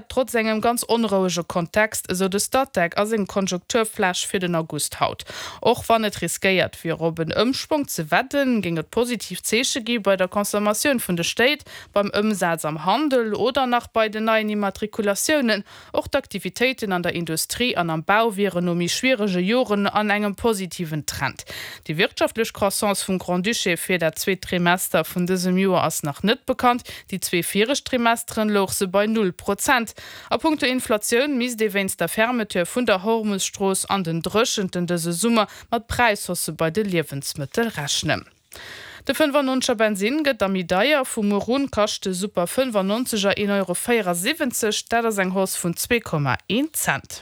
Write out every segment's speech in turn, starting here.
Trotz engem ganz onrouege Kontext, esou de Statec a sengem Konjunkturflash fir den August haut. Och wann et riskéiert wier op en Ëmschwong ze wedden, géing et positiv Zeeche gi bei der Consommatioun vun de Stéit, beim Ëmsaz am Handel oder nach bei den neien Immatrikulatiounen. Och d'Aktivitéiten an der Industrie an am Bau wieren no méi schwierege Joren an engem positiven Trend. Déi wirtschaftlech Croissance vum Grand-Duché fir dat zweet Trimester vun dësem Joer ass nach net bekannt. Déi zwee viregt Trimesteren louch se bei null Prozent. A punkto Inflatioun misst ee wéinst der Fermeture vun der Hormus-Strooss an den Dréchenten dëse Summer mat Präishaussë bei de Liewensmëttel rechnen. De 95er Bensinn gëtt da méi deier, Vu muer un kascht de Super 95er 1,74 Euro, dat ass eng Hausse vun 2,1 Cent.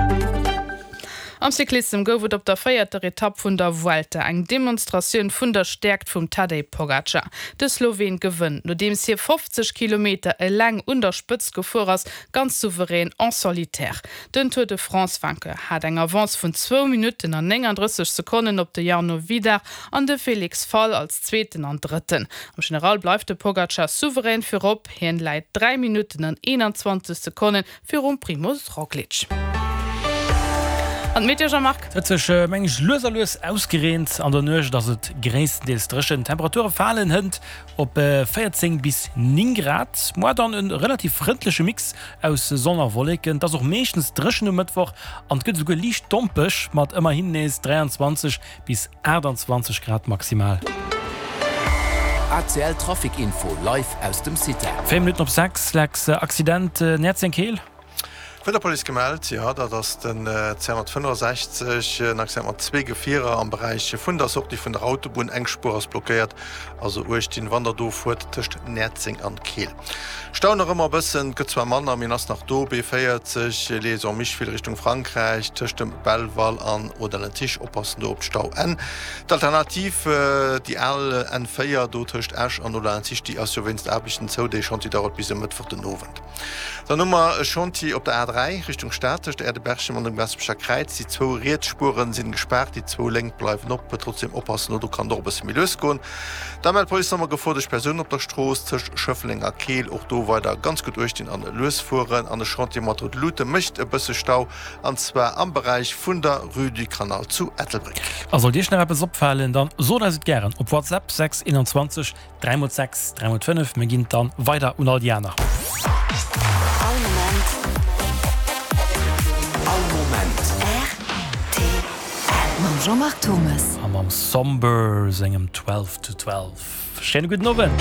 Am Cyclissem gouf et op der véierter Etapp vun der Vuelta eng Demonstratioun vun der Stäerkt vum Tadej Pogacar. De Sloween gewënnt, nodeems hie 50 Kilometer eleng un der Spëtzt gefuer ass, ganz souverän en solitaire. Den Tour de France-Vainqueur hat eng Avance vun zwou Minutten an 39 Sekonnen op de Jarno Widar an de Felix Fall als Zweeten an Drëtten. Am General bleift de Pogacar souverän virop, hien läit 3 Minutten an 21 Sekonnen Virum Primoz Roglic. An d'Meteo, Jean-Marc? Et huet sech, meng ech, lues a lues ausgereent. An der Nuecht ass et gréisstendeels dréchen. D'Temperature falen hënt op 14 bis 9 Grad. Moar dann e relativ frëndleche Mix aus Sonn a Wolleken. Et ass och meeschtens dréchen um Mëttwoch an et gëtt esouguer liicht dompeg mat ëmmerhin nees 23 bis 28 Grad maximal. ACL Trafic Info live aus dem Citec. 4 Minutten op 6, Lex, Accident Näerzeng-Keel. Vun der Police gemellt, jo dat ass den 265, en Accident mat zwee Gefierer am Beräich vun der Sortie vun der Autobunn. Eng Spuer ass blockéiert, also uecht dinn, wann der do fuert tëscht Näerzeng an Keel. Stau nach ëmmer e bëssen, gëtt zwar manner, mee en ass nach do. B40, Liaison Micheville Richtung Frankräich, tëscht dem Belval an Audun-le-Tiche, oppassen do op d'Stauenn. D'Alternativ, déi al N4 do tëscht Esch an Audun-le-Tiche, déi ass jo wéinst Aarbechten zou. Dee Chantier dauert bis e Mëttwoch den Owend. Dann hu mer e Chantier op der A3 Richtung Stad tëscht Äerdeberchem an dem Gaasperecher Kräiz. Déi zwou riets Spueren sinn gespaart, déi zwou lénk bleiwen op. Trotzdeem oppassen, do kann et och e bësse méi lues goen. Da mellt d'Police nach emol Gefor duerch Persounen op der Strooss tëscht Schëffleng a Keel. Och do weider ganz gutt uecht dinn an lues fueren. An e Chantier mat Route Luute mécht e bësse Stau, an zwar am Beräich vun der Rue du Canal zu Ettelbréck. A sollt Iech nach eppes opfalen, dann sot eis et gären op WhatsApp 6 21 3 x 6 3 x 5. Mir ginn et dann weider un all déi aner. All Moment. All Moment. Rtl. Mam Jean-Marc Thommes. A mam Somber sengem 12 to 12. Schéine gudden Owend.